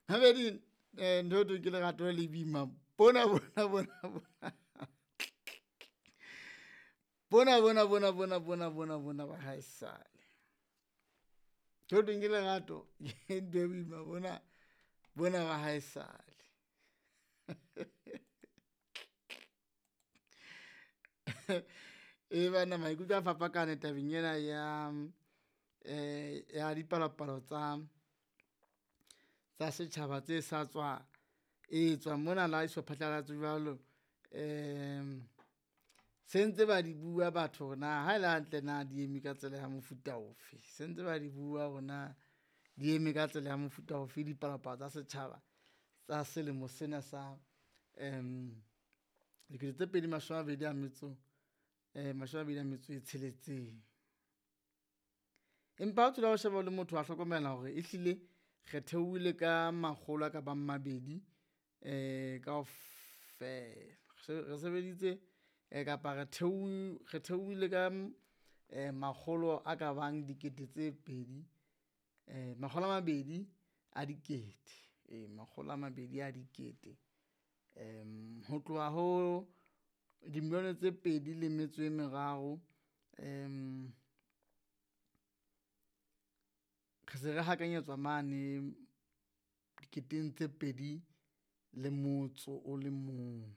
Mabedi ntho e thweng ke lerato le boima bona bona bona bona. Bona bona bona bona bona bona bona ba haesale. Ntho e thweng ke lerato ke ntho e boima bona bona ba haesale. E banna maikutlo a fapakane tabeng ena ya ya dipalopalo tsa tsa setjhaba tse sa tswa etswa mona le ha e so phatlalatswe jwalo. Se ntse ba di bua batho hore na ha ele hantle na di eme ka tsela ya mofuta ofe, se ntse ba di bua hore na di eme ka tsela ya mofuta ofe dipalopalo tsa setjhaba tsa selemo sena sa dikete tse pedi mashome a mabedi a metso mashome a mabedi a metso e tsheletseng. Empa ha o thola o sheba o le motho wa hlokomela hore ehlile re theohile ka makgolo a ka bang mabedi kaofela. Re sebeditse kapa re re theohile ka makgolo a ka bang dikete tse pedi makgolo a mabedi a dikete, ee makgolo a mabedi a dikete. Ho tloha ho dimilione tse pedi le metso e meraro re se re hakanyetswa mane diketeng tse pedi le motso o le mong.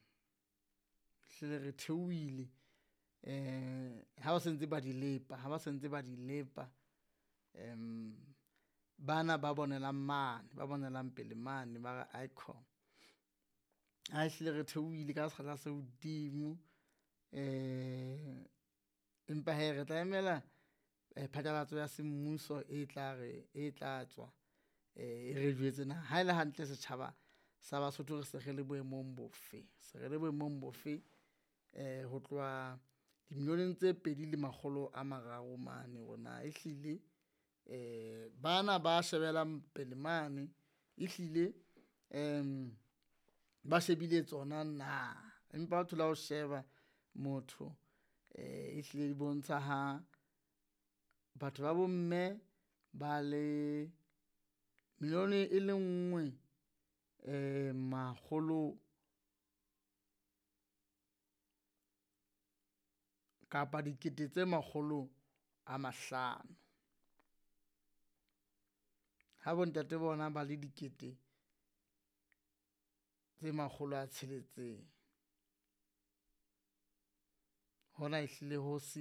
Ehlile re theohile ha ba se ntse ba di lepa, ha ba se ntse ba di lepa. Bana ba bonelang mane, ba bonelang pele mane ba re aikhona. Ha ehlile re theohile ka sekgahla se hodimo empa hee re tla emela phatlalatso ya semmuso e tla re, e tla tswa e re jwetse na haele hantle setjhaba sa Basotho re se re le boemong bofe. Se re le boemong bofe ho tloha dimilioneng tse pedi le makgolo a mararo mane hore na ehlile bana ba shebelang pele mane ehlile ba shebile tsona na. Empa o thola o sheba motho ehlile di bontsha ha batho ba bomme ba le milione e le nngwe makgolo kapa dikete tse makgolo a mahlano. Ha bontate bona ba le dikete tse makgolo a tsheletseng. Hona ehlile ho se.